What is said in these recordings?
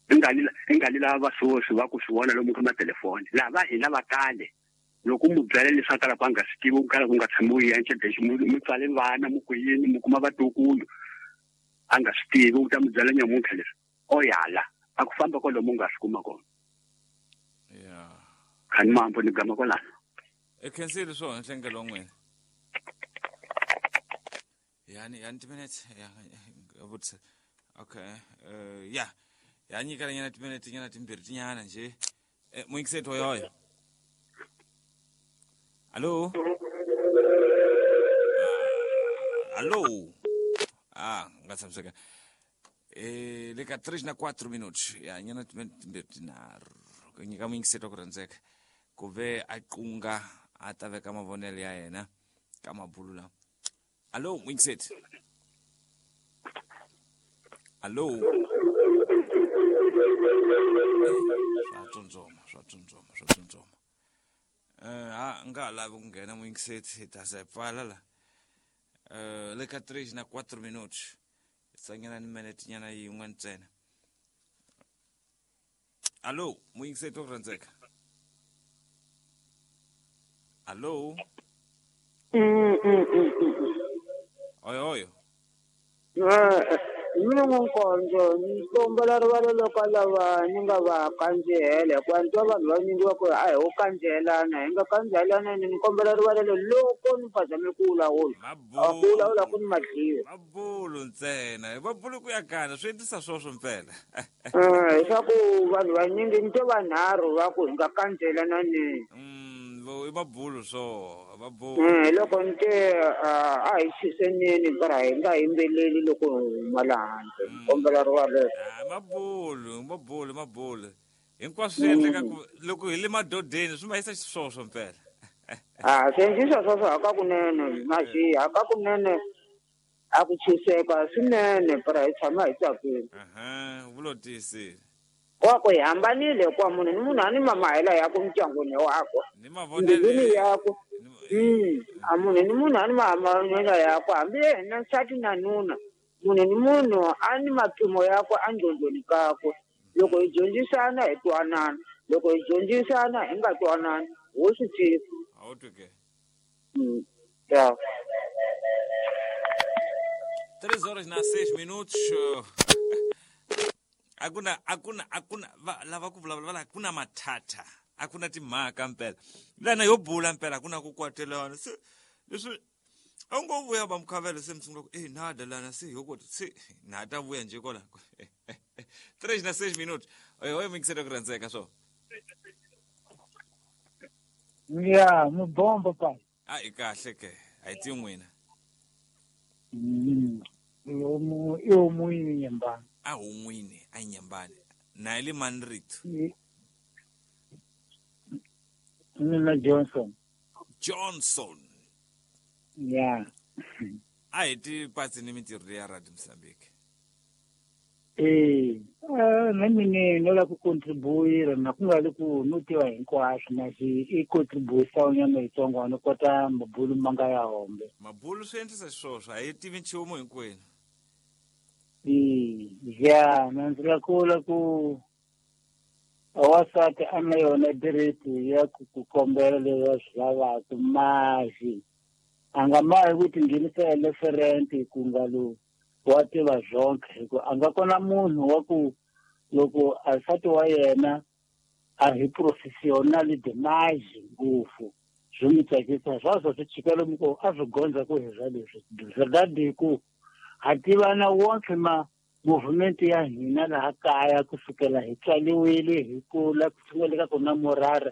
Ingali lava swoswi va ku swi vona lomu ka matelefoni. Lava hina va kale. Loko mu byela leswi a kalaka a nga swi tivi, ku kala ku nga tshamiwi encedexi, mu tswale vana, mu ku yini, mu kuma vatukulu. A nga swi tivi, u ta mu byela nyamuntlha leswi. O yala, a ku famba kwalomu u nga swi kuma kona. Yeah. Khani mambo ni gama kwalano. E khensile swona nhlengelo wa n'wina. Yani yani timinete ya vutisa. Okay. Ya. Ya nyikela nyana timinete nyana timbirhi tinyana nje. Muyingiseti hoyoyo. Allo. Allo. Ah, nga tshamiseka. Le ka 3 na 4 minutos. Ya nyana timinete timbirhi tinharhu. Ku nyika muyingiseti wa ku rhandzeka. Ku ve a qunga a ta veka mavonelo ya yena ka mabulu lawa. Allo, muyingiseti. Allo. Swa tsundzuma, swa tsundzuma, swa tsundzuma. Ha nga ha lavi ku nghena muyingiseti, hi ta ze pfala la. Le ka 3 na 4 minutos. Tsanyana ni minute nyana yin'we ntsena. Allo, muyingiseti wa ku rhandzeka. Allo. Oyo oyo. Mina n'wankonzo ni kombela rivalelo ka lava ni nga va kandzihela hikuva ni twa vanhu vanyingi va ku a hi wo kandzihelana hi nga kandzihelana ni kombela rivalelo loko ni phazame ku vulavula a ku vulavula ku ni madliwa mabulu ntsena hi mabulu ku ya kana swi endlisa swoswo mpela leswaku vanhu vanyingi ni twe vanharhu va ku hi nga kandzelananeni i mabulu swo mabulu loko ni te a hi chiseneni para hi nga yimbeleli loko hi huma laha handle ni kombela rivalelo mabulu mabulu mabulu hinkwaswo swi endleka ku loko hi le madodeni swi ma yisa xiswoswo mpela a swi endlisa swoswo hakakunene maxi hakakunene a ku chiseka swinene para hi tshama hi tsakile vulo tiyisile wa ku hi hambanile hikuva munhu ni munhu a ni mamahela yakwe mindyangwini wakwe mbilwini yakwe a munhu ni munhu a ni mamahela yakwe hambi yena nsati na nuna munhu ni munhu a ni mapimo yakwe endlondlweni kakwe loko hi dyondzisana hi twanana loko hi dyondzisana hi nga twanani ho swi tiva a wu twi ke ya 3 horas na 6 minutos. Akuna akuna akuna va lava ku vulavula va la akuna mathatha akuna timhaka mpela lana yo bula mpela akuna ku kwatelana se leswi a wu ngo vuya va mukhavelo se mi sungula ku e nada lana se yo kota se na ta vuya nje kola 3 na 6 minutos oyo oyo mingisela ku rhandzeka swo ya mubombo pa a i kahle ke a hi ti n'wina i omunye nyembani a hun'wini a nyembani na hi le mani rito mina Johnson Johnson ya a hi ti patsi ni mintirho leya Radio Mozambique na mina no lava ku contribuira na ku nga ri ku no tiva hinkwaswo masi i contribution nyana yitsongo ni kota mabulu ma nga ya hombe mabulu swi endlisa xiswoswo a hi tivi nchumu hinkwenu ya na ndzi la kula ku wansati a na yona direti ya ku ku kombela leswi a swi lavaka masi a nga mahi ku tinghenisa eleferente ku nga lo wa tiva zonke hi ku a nga kona munhu wa ku loko a nsati wa yena a hi professional demise ngopfu swi n'wi tsakisa swaswo swi chika lomu ko a swi gondza ku hi swa leswi verdade ku ha tivana wonke ma movement ya hina laha kaya kusukela hi tswaliwile hi kula ku sungula ka ku na murara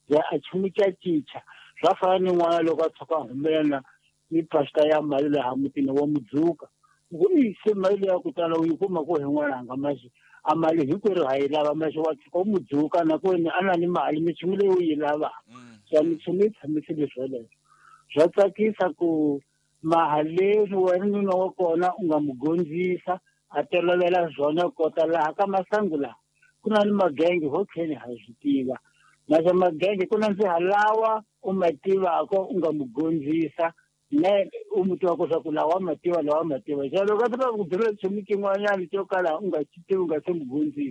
ya a chumu ca cinca swa fana ni n'wana loko a tshuka a humelela ni pasta ya mali laha mutini wa mudzuka ku i se mali ya ku tala u yi kuma ku hi n'wananga maxi a mali hinkwerhu ha yi lava maxi wa tshuka u mudzuka na ku a na ni mali minchumu leyi u yi lavaka swa minchumu yi tshamisile swoleswo swa tsakisa ku maha leswi wena nuna wa kona u nga mu gondzisa a tolovela swona kota laha ka masangu laha ku na ni magenge ho tlheni ha swi tiva naswo magenge ku na ndziha lawa u ma tivaka u nga mu gondzisa ne u mu tivaka swa ku lawa ma tiva lawa ma tiva xa loko a tiva ku byela nchumu xin'wanyana xo kala u nga xi tivi u nga se mu gondzisa.